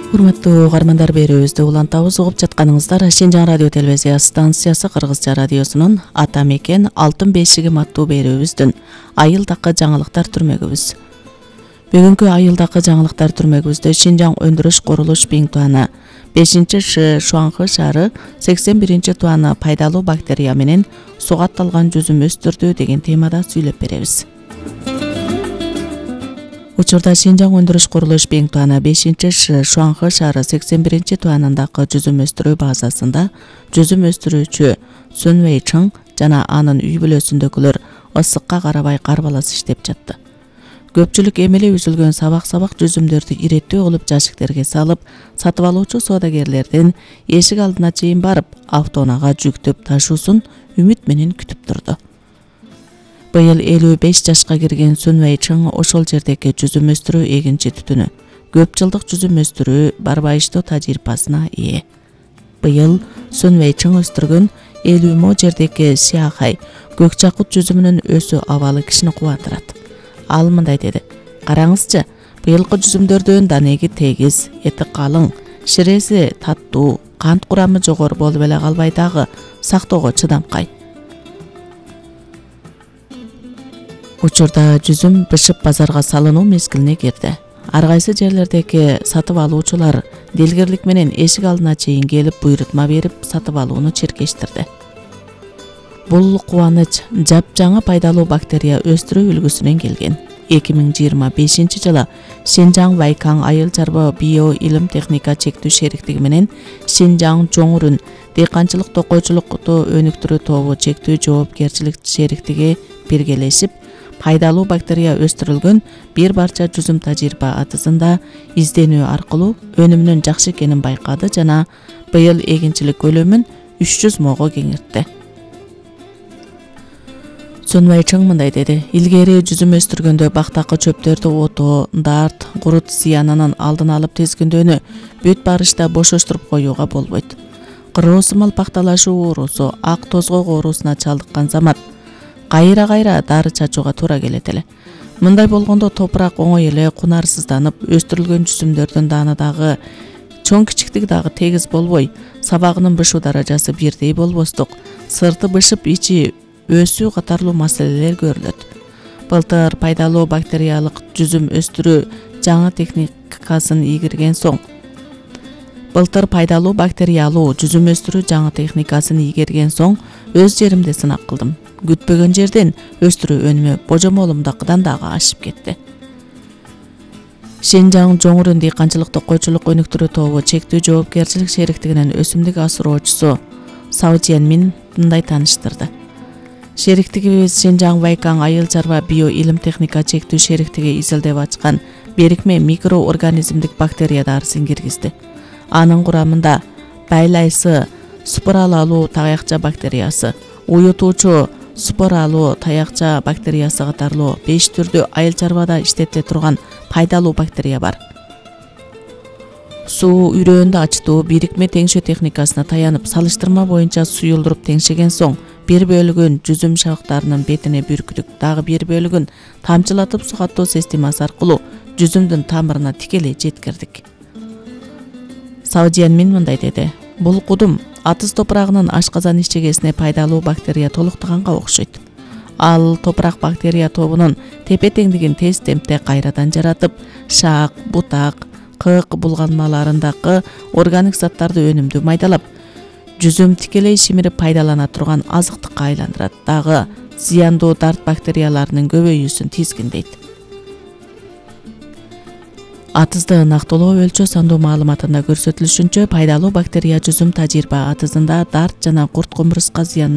Урматтуу угармандар, берүүбүздү улантабыз. Угуп жатканыңыздар Шинжаң радио телевизия станциясы Кыргызча радиосунун Ата мекен алтын бешигим аттуу берүүбүздүн айылдакы жаңылыктар түрмөгүбүз. Бүгүнкү айылдакы жаңылыктар түрмөгүбүздө Шинжаң өндүрүш курулуш биңтуаны 5-Ш Шуаңкы шаары 81-туаны пайдалуу бактерия менен сугатталган жүзүм өстүрдү деген темада сүйлөп беребиз. Учурда Шинжаң өндүрүш курулуш биңтуаны 5-Ш Шуаңкы шаары 81-туанындагы жүзүм өстүрүү базасында жүзүм өстүрүүчү Sun Wei-Cheng жана анын үй бүлөсүндөгүлөр ысыкка карабай карбалас иштеп жатты. Көпчүлүк эмеле үзүлгөн сабак жүзүмдөрдү иреттүү кылып жашиктерге салып, сатып алуучу соодагерлердин эшик алдына чейин барып, автоунаага жүктөп ташуусун үмүт менен күтүп турду. Быйыл 55 жашка кирген Sun Wei-Cheng ошол жердеги жүзүм өстүрүү эгинчи түтүнү, көп жылдык жүзүм өстүрүү барбайыштоо тажрыйбасына ээ. Быйыл Sun Wei-Cheng өстүргөн 50 мо жердеги Сиахай көк жакут жүзүмүнүн өсүү абалы кишини кубандырат. Ал мындай деди: "Караңызчы, быйылкы жүзүмдөрдүн данеги тегиз, эти калың, ширеси таттуу, кант курамы жогору болуп эле калбай дагы сактоого чыдамкай. Учурда жүзүм бышып базарга салынуу мезгилине кирди. Ар кайсы жерлердеги сатып алуучулар дилгирлик менен эшик алдына чейин келип буйрутма берип сатып алууну чиркештирди. Бул кубаныч жапжаңы пайдалуу бактерия өстүрүү үлгүсүнөн келген. 2025-жылы Шинжаң Вайкаң айыл чарба био илим техника чектүү шериктиги менен Шинжаң Жоңурун дыйканчылык токойчулукту өнүктүрүү тобу чектүү жоопкерчилик шериктиги биргелешип, пайдалуу бактерия өстүрүлгөн бир барча жүзүм тажрыйба атысында изденүү аркылуу өнүмүнүн жакшы экенин байкады жана быйыл эгинчилик көлөмүн 300 мого кеңейтти. Sun Wei-Cheng мындай деди: "Илгери жүзүм өстүргөндө бактакы чөптөрдү отоо, дарт, курут зыянынын алдын алып тизгиндөөнү бүт барышта бошоштуруп коюуга болбойт. Кыроосумал пакталашуу оорусу, ак тозгоок оорусуна чалдыккан замат кайра дары чачууга туура келет эле. Мындай болгондо топурак оңой эле кунарсызданып, өстүрүлгөн жүзүмдөрдүн даны дагы чоң кичиктиги дагы тегиз болбой, сабагынын бышуу даражасы бирдей болбостук, сырты бышып, ичи өсүү катарлуу маселелер көрүлөт. Былтыр пайдалуу бактериялык жүзүм өстүрүү жаңы техникасын ийгерген соң өз жеримде сынак кылдым. Күтпөгөн жерден өстүрүү өнүмү божомолумдакыдан дагы ашып кетти." Шинжаң Жоңурун дыйканчылык токойчулук өнүктүрүү тобу чектүү жоопкерчилик шериктигинин өсүмдүк асыроочусу Сао Жиэнмин мындай тааныштырды. "Шериктигибиз Шинжаң Вайкаң айыл чарба био илим техника чектүү шериктиги изилдеп ачкан берикме микроорганизмдик бактерия дарысын киргизди. Анын курамында байлайсы споралалуу таякча бактериясы, уютуучу споралуу таякча бактериясы катарлуу 5 түрдүү айыл чарбада иштетиле турган пайдалуу бактерия бар. Суу үрөөндө ачтуу бирикме теңшөө техникасына таянып, салыштырма боюнча суюлдуруп теңшеген соң, бир бөлүгүн жүзүм шабактарынын бетине бүркүдүк, дагы бир бөлүгүн тамчылатып сугаттоо системасы аркылуу жүзүмдүн тамырына тикелей жеткирдик." Сао Жиэнмин мындай деди: "Бул кудум атыз топурагынын ашказан ичегесине пайдалуу бактерия толуктаганга окшойт. Ал топурак бактерия тобунун тепе-теңдигин тез темпте кайрадан жаратып, шаак, бутак, кык булганмаларындагы органик заттарды өнүмдүү майдалап, жүзүм тикелей шимирип пайдалана турган азыктыкка айландырат, дагы зыяндуу дарт бактерияларынын көбөйүүсүн тизгиндейт." Атызды ынактылоо өлчө сандуу маалыматында көрсөтүлүшүнчө, пайдалуу бактерия жүзүм тажрыйба атызында дарт жана курт кумурска зыянын